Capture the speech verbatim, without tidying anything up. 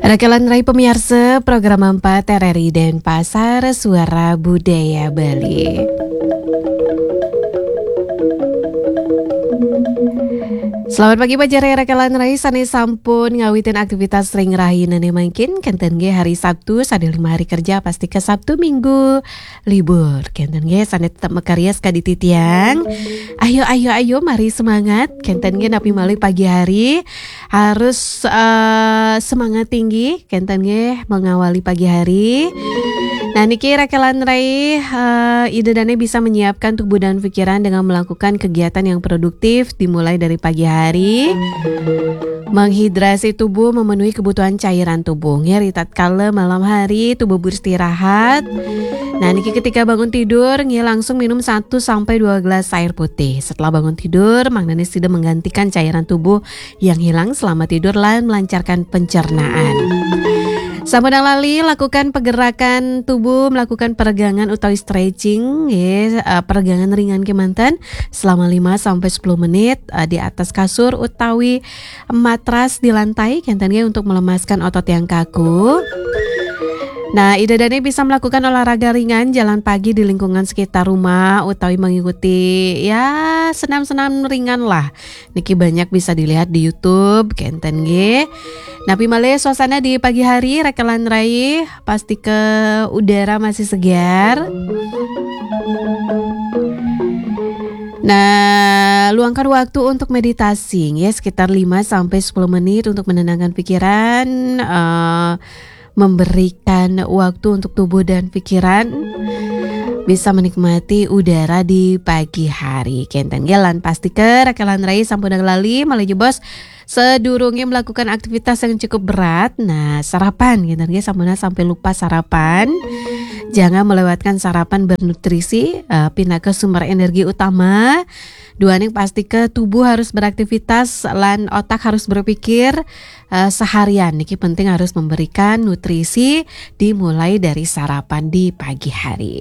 Rakalan rai pamiarsa, program empat R R I Denpasar, Suara Budaya Bali. Selamat pagi, pajar rakalan rai, sane sampun ngawitin aktivitas ring rahinane mangkin, kenten nggih hari Sabtu, sane lima hari kerja, pasti ke Sabtu Minggu libur. Kenten nggih, sane tetep makarya sakadi titiang. Ayo, ayo, ayo, mari semangat. Kenten nggih, napi malih pagi hari harus, eh, semangat tinggi. Kenten nggih, mengawali pagi hari. Nah, niki rakalan rai, eh, Ida Dane bisa menyiapkan tubuh dan pikiran dengan melakukan kegiatan yang produktif dimulai dari pagi hari. Menghidrasi tubuh, memenuhi kebutuhan cairan tubuh. Nggih, ri tatkala malam hari tubuh beristirahat. Nah, niki ketika bangun tidur, nggih, langsung minum satu sampai dua gelas air putih. Setelah bangun tidur, mangdane sida menggantikan cairan tubuh yang hilang selama tidur lan melancarkan pencernaan. Sampun lali lakukan pergerakan tubuh, melakukan peregangan utawi stretching, nggih, eh, peregangan ringan kemanten selama lima sampai sepuluh menit, eh, di atas kasur utawi matras di lantai, kenten nggih, untuk melemaskan otot yang kaku. Nah, Ida Dane bisa melakukan olahraga ringan, jalan pagi di lingkungan sekitar rumah, utawi mengikuti, ya, senam-senam ringan lah. Niki banyak bisa dilihat di YouTube, kenten nggih. Napi malih suasana di pagi hari, rakalan rai, pasti ke udara masih segar. Nah, luangkan waktu untuk meditasi, ya, sekitar lima sampai sepuluh menit untuk menenangkan pikiran, eh, memberikan waktu untuk tubuh dan pikiran bisa menikmati udara di pagi hari. Kenten nggih, lan pasti ke rakalan rai sampun lali malih jebos, sedurunge melakukan aktivitas yang cukup berat. Nah, sarapan, kenten nggih, sampun sampai lupa sarapan. Jangan melewatkan sarapan bernutrisi, eh, pinaka sumber energi utama. Duaning pasti ke tubuh harus beraktivitas lan otak harus berpikir, eh, seharian. Niki penting harus memberikan nutrisi dimulai dari sarapan di pagi hari.